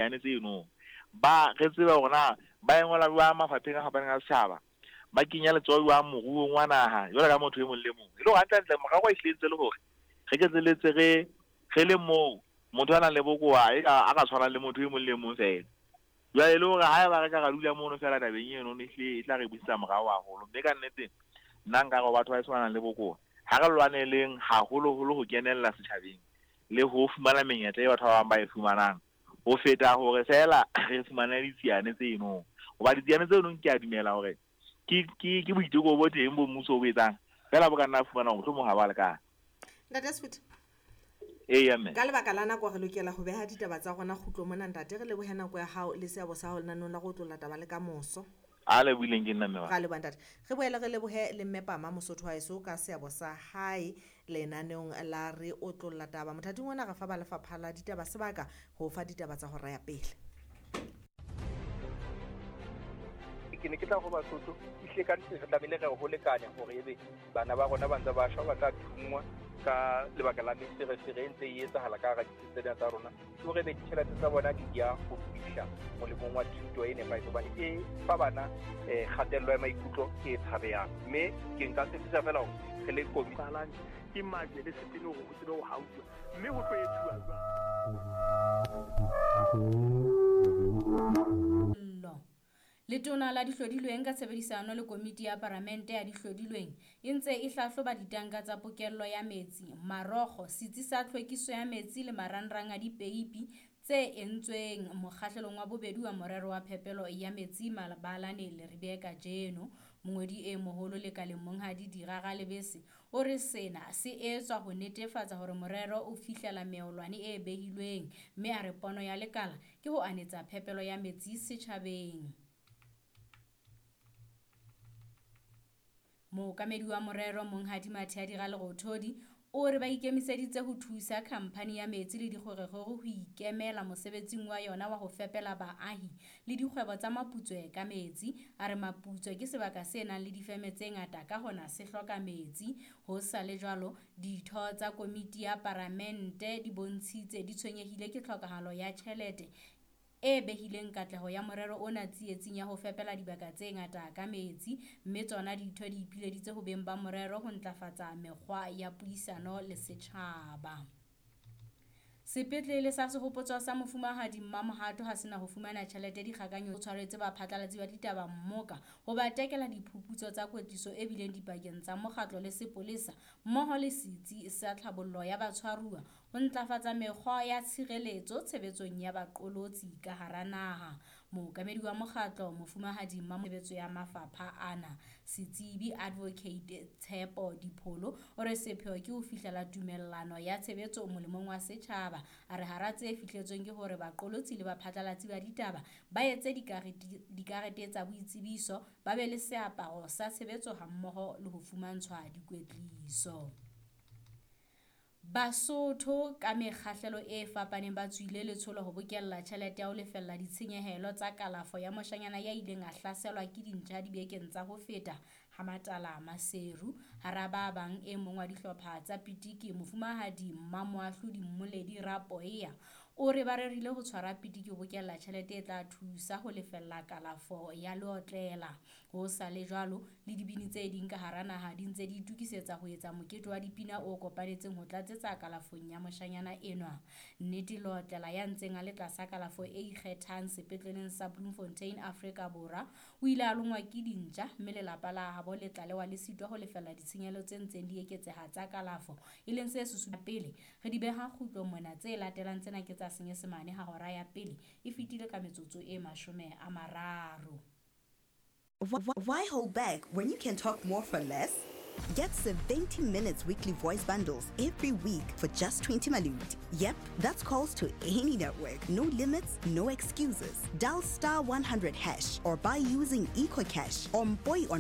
Ditsiane tseno ba re tsebe hore na ba e ngola jwang mafapheng a fapaneng a setjhaba, ba kenya letsoho jwang moruong wa naha jwalo ka motho e mong le mong. E le hore hantlentle morero ehlile ntse le hore re ketleletse re re le moo motho a nang le bokowa e ka a ka tshwanang le motho e mong le mong feela. Jwale e le hore haeba re ka ra dula mono feela tabeng eno ehlile e tla re busetsa morao haholo. Mme ka nnete nna nka re ho batho ba heso ba nang le bokowa ha re lwaneleng haholoholo ho kenella setjhabeng le ho fumana menyetla e batho ba bang ba e fumanang ho feta hore feela re fumane ditsiane tseno. Hoba ditsiane tseno ke a dumela hore ke ke ke boiteko bo teng bo mmuso o bo etsang feela bo ka nna fumana hore mohlomong ha ba lekana. Ntate Sefutho. Eya mme. Ka lebaka la nako re lokela ho beha ditaba tsa rona kgutlo mona ntate. Re lebohe nako ya hao le seabo sa hao lenaneong la go otlolla taba le ka moso. A lebohileng ke nna mme wa. Ra leboha ntate. Re boele re lebohe le mme Pama Mosotho wa heso ka seabo sa hae lenaneong la re otlolla taba. Mothating ona re fa ba lefapha la ditaba sebaka ho fa ditaba tsa hora ya pele. Ke ne ke tla ho Basotho ehlile ka nnete re tlamehile re ho lekane hore ebe bana ba rona ba ntse ba shwa, ba tla thunngwa ka lebaka la meferefere e ntse e etsahala ka hara ditsi tsena tsa rona, ke hore ebe ditjhelete tsa bona di ya ho fihla molemong wa thuto e nepahetseng, hobane e fa bana kgatello ya maikutlo e tshabehang. Mme ke nka tshepisa fela hore re le komiti Qalang ke majwe le setene hore ho tsebe ho hauwa, mme ho tlo etsuwa jwang? Llo. Letona la Dihlodilweng ka tshebedisano le Komiti ya Paramente ya Dihlodilweng e ntse e hlahloba ditanka tsa pokello ya metsi, marokgo, setsi sa tlhwekiso ya metsi le marangrang a dipeipi tse entsweng mokgahlelong wa bobedi wa morero wa phepelo ya metsi Mabalane Leribe kajeno. Mongodi e moholo lekaleng Monghadi Dira Ralebese o re sena se etswa ho netefatsa hore morero o fihlela meolwane e behilweng, mme a re pono ya lekala ke ho anetsa phepelo ya metsi setjhabeng. Mookamedi wa morero Monghadi Mathea Ralerothodi o re ba ikemiseditse ho thusa khamphani ya metsi le dikgwerekgwere ho ikemela mosebetsing wa yona wa ho fepela baahi le dikgwebo tsa Maputswe ka metsi. A re Maputswe ke sebaka se nang le difeme tse ngata, ka hona se hloka metsi. Ho sa le jwalo, ditho tsa komiti ya paramente di bontshitse di tshwenyehile ke tlhokahalo ya tjhelete e behileng katleho ya morero ona tsietsing ya ho fepela dibaka tse ngata ka metsi, mme tsona ditho di ipileditse ho beng ba morero ho ntlafatsa mekgwa ya puisano le setjhaba. Sepetlele sa Sehopotso sa Mofumahadi Mmamohato ha sena ho fumana tjhelete dikgakanyo tshwaretse baphatlalatsi ba ditaba mmoka ho ba tekela diphuputso tsa kwetliso e bileng dipakeng tsa mokgatlo le sepolesa mmoho le setsi sa tlhabollo ya batshwaruwa ho ntlafatsa mekgwa ya tshireletso tshebetsong ya baqolotsi ka hara naha. Mookamedi wa mokgatlo Mofumahadi Mmamobetso ya mafapha ana Setsebi Advocate Tshepo Dipholo o re sepheo ke ho fihlela tumellano ya tshebetso molemong wa setjhaba. A re hara tse fihletsweng ke hore baqolotsi le baphatlalatsi ba ditaba ba etse dikarete tsa boitsebiso, ba be le seaparo sa tshebetso hammoho le ho fumantshwa dikwetliso. Basotho ka mekgahlelo e fapaneng ba tswile letsholo ho bokella tjhelete ya ho lefella ditshenyehelo tsa kalafo ya moshanyana ya ileng a hlaselwa ke dintja dibekeng tsa ho feta ha Matala Maseru. Hara ba bang e mong wa dihlopha tsa pitiki Mofumahadi Mmamoahlodi Mmoledi Rapoeya o re ba rerile ho tshwara pitiki ho bokella tjhelete e tla thusa ho lefella kalafo ya leotlela. Ho sa le jwalo, le dibini tse ding ka hara naha di ntse di itokisetsa ho etsa mokete wa dipina o kopanetseng ho tlatsetsa kalafong ya moshanyana enwa. Nnete Leotlela ya ntseng a le tlasa kalafo e ikgethang sepetleleng sa Bloemfontein Afrika Borwa o ile a longwa ke dintja mme lelapa la habo le tlalewa le sitwa ho lefella ditshenyehelo tse ntseng di eketseha tsa kalafo, e leng se susumetsang pele re di beha kgutlong mona. Tse latelang tsena ke tsa Senyesemane ha hora ya pele e fetile ka metsotso e 30. Why hold back when you can talk more for less? Get 70 minutes weekly voice bundles every week for just 20 malut. Yep, that's calls to any network. No limits, no excuses. Dial star 100 hash or buy using EcoCash or Mpoi on